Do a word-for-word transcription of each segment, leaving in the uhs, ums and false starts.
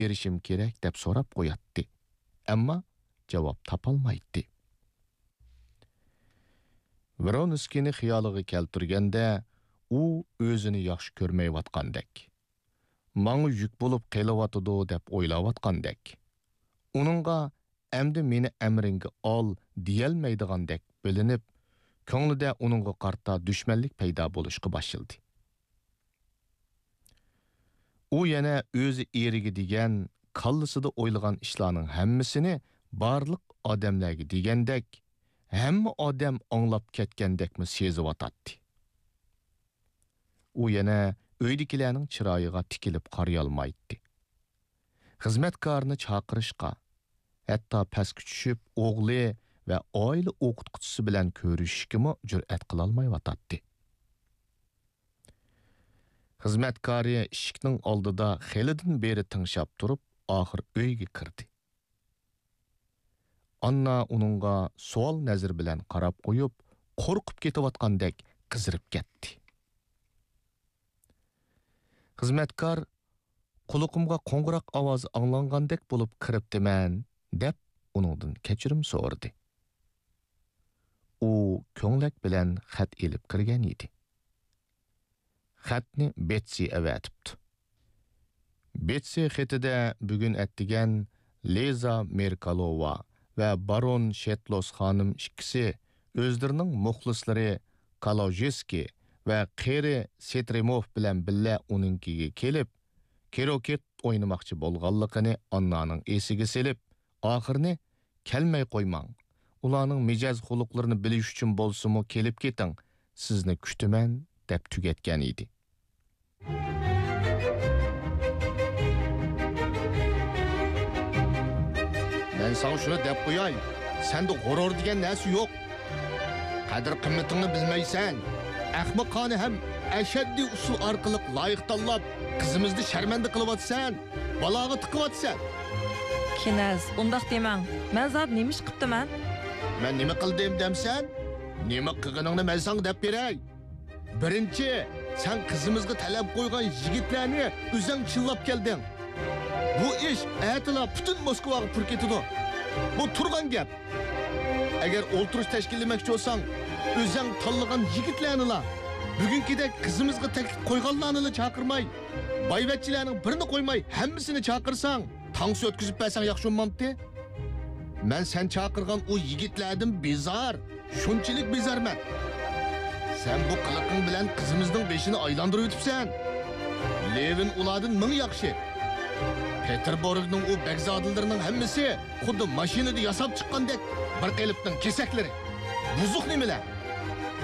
بېرىشىم كېرەك دەپ سوراپ قوياتتى. ئەمما جاۋاب تاپالمايتتى. ۋرونسكىينى خىيالىغا كەلتۈرگەندە، ئۇ ئۆزىنى ياخشى كۆرمەيۋاتقاندەك، ماڭا يۈك بولۇپ قېلىۋاتىدۇ دەپ ئويلاۋاتقاندەك، ئۇنىڭغا ئەمدى مېنى ئەمرىڭگە ئال دېيەلمەيدىغاندەك بىلىنىپ، كۆڭلىدە ئۇنىڭغا قارىتا دۈشمەنلىك پەيدا بولۇشقا باشلىدى. ئۇ يەنە ئۆزى ئېرىگە دېگەن، كاللىسىدا ئويلىغان ئىشلارنىڭ ھەممىسىنى بارلىق ئادەملەرگە دېگەندەك، ھەممە ئادەم ئاڭلاپ كەتكەندەكمۇ سېزىۋاتاتتى. ئۇ يەنە ئۆيدىكىلەرنىڭ چىرايىغا تىكىلىپ قارىيالمايتتى. خىزمەتكارنى چاقىرىشقا، ھەتتا پەسكە چۈشۈپ ئوغلى ۋە ئائىلە ئوقۇتقۇچىسى بىلەن كۆرۈشۈشكىمۇ جۈرئەت قىلالمايۋاتاتتى. خىزمەتكارى ئىشىكنىڭ ئالدىدا خېلىدىن بېرى تىڭشاپ تۇرۇپ، ئاخىر ئۆيگە كىردى. ئاننا ئۇنىڭغا سوئال نەزىرى بىلەن قاراپ قويۇپ، قورقۇپ كېتىۋاتقاندەك قىزىرىپ كەتتى. خىزمەتكار، «قۇلىقىمغا قوڭغۇراق ئاۋازى ئاڭلانغاندەك بولۇپ كىرىپتىمەن» دەپ، ئۇنىڭدىن كەچۈرۈم سورىدى. ئۇ كۆڭلەك بىلەن خەت ئېلىپ كىرگەن ئىدى. خەتنى بېتسى ئەۋەتىپتۇ. بېتسى خېتىدە بۈگۈن ئەتىگەن لىزا مېركالوۋا ۋە بارون شېتلوس خانىم ئىككىسى ئۆزلىرىنىڭ مۇخلىسلىرى كالوژېسكىي ۋە قېرى سېترىموف بىلەن بىللە ئۇنىڭكىگە كېلىپ، كىروكېت ئوينىماقچى بولغانلىقىنى ئاننانىڭ ئېسىگە سېلىپ، ئاخىرىنى «كەلمەي قويماڭ، ئۇلارنىڭ مىجەز-خۇلقلىرىنى بىلىش ئۈچۈن بولسىمۇ كېلىپ كېتىڭ، سىزنى كۈتىمەن» دەپ تۈگەتكەن ئىدى. مەن ساڭا شۇنى دەپ قوياي، سەندە غۇرۇر دېگەن نەرسە يوق. قەدىر-قىممىتىڭنى بىلمەيسەن. ئەخمىقانە ھەم ئەشەددىي ئۇسۇل ئارقىلىق لايىق تاللاپ، قىزىمىزنى شەرمەندە قىلىۋاتىسەن، بالاغا تىقىۋاتىسەن. كىنەز، ئۇنداق دېمەڭ. مەن زادى نېمە ئىش قىپتىمەن؟ مەن نېمە قىلدىم دەمسەن؟ نېمە قىلغىنىڭنى مەن ساڭا دەپ بېرەي. بىرىنچى، سەن قىزىمىزغا تەلەپ قويغان يىگىتلەرنى ئۆزەڭ چىللاپ كەلدىڭ. بۇ ئىش ئەتىلا پۈتۈن موسكۋاغا پۇر كېتىدۇ. بۇ تۇرغان گەپ. ئەگەر ئولتۇرۇش تەشكىللىمەكچى بولساڭ، ئۆزەڭ تاللىغان يىگىتلەرنىلا، بۈگۈنكىدەك قىزىمىزغا تەكلىپ قويغانلارنىلا چاقىرماي، بايۋەچچىلەرنىڭ بىرىنى قويماي، ھەممىسىنى چاقىرساڭ، تانسا ئۆتكۈزۈپ بەرسەڭ ياخشى بولمامتى؟ مەن سەن چاقىرغان ئۇ يىگىتلەردىن بىزار، شۇنچىلىك بىزارمەن. سەن بۇ قىلىقىڭ بىلەن قىزىمىزنىڭ بېشىنى ئايلاندۇرۇۋېتىپسەن. لېۋىن ئۇلاردىن مىڭ ياخشى. پېتېربۇرگنىڭ ئۇ بەگزادىلىرىنىڭ ھەممىسى خۇددى ماشىنىدا ياساپ چىققاندەك بىر قېلىپنىڭ كېسەكلىرى. بۇزۇق نېمىلەر؟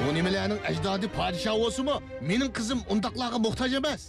ئۇ نېمىلەرنىڭ ئەجدادى پادىشاھ بولسىمۇ، مېنىڭ قىزىم ئۇنداقلارغا موھتاج ئەمەس.